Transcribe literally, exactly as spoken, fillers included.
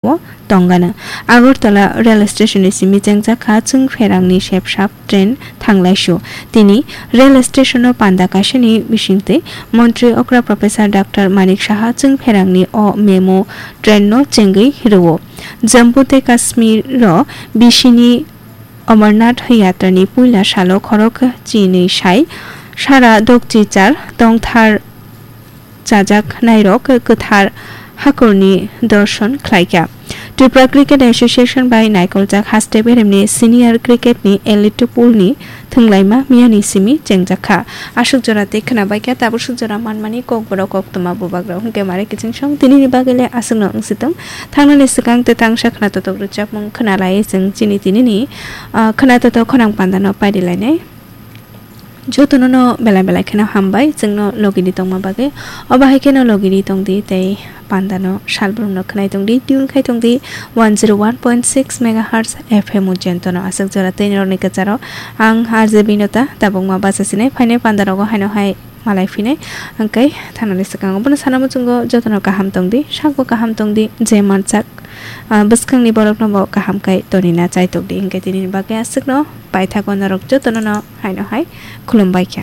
o tongano. Agartala rail station ni simi chengjak kha chwng pherangni sepsap train thanglaisu. Tini rail station o panda kaisani bisingtwi montri okra Professor Doctor Manik Saha chwng pherangni o memo train no chengwi rwo. Jammu tei Kashmir o bisini Amarnath yatrani puila salo khorok chinwi sai sara dokchichar tongthar chajak nairok kwthar hakorni dorson khlaikha. Tripura Cricket Association bai naikoljak haste beremni senior cricket ni elite pool ni thwnglaima miyani simi chengjak kha. Aswk jora tei khwnabaikha, tabuk swk jora manmani kokborok koktwma bubagrok hwnkhe mare kiching song tinini bagwi le aswkno wngsitwng. Thangnani swkang tei tangsa khwnatotok rwchapmung khwnalai chwng chini tinini, ah, khwnatotok khorang pandano pairilainai. Jotono no belai belai kheno hambai chwngno logini tongma bagwi. Obo hai kheno logini tongdi tei pandano salbrumno khwnai tongdi, tune khai tongdi one zero one point six megahertz F M o jentono. Aswk jora tei norokni kwcharo ang R J Binota tabukma bachasinai phainai pandarogo haino hai malai phinai. Hwnkhe thanani swkango bono sana muchungo jotono kaham tongdi, sakbo kaham tongdi, je mansak, ah, bwskangni borokno bo kaham khai tonina chai tongdi. Hwnkhe tinini bagwi aswkno paithago norok jotono no haino hai khulumbai kha.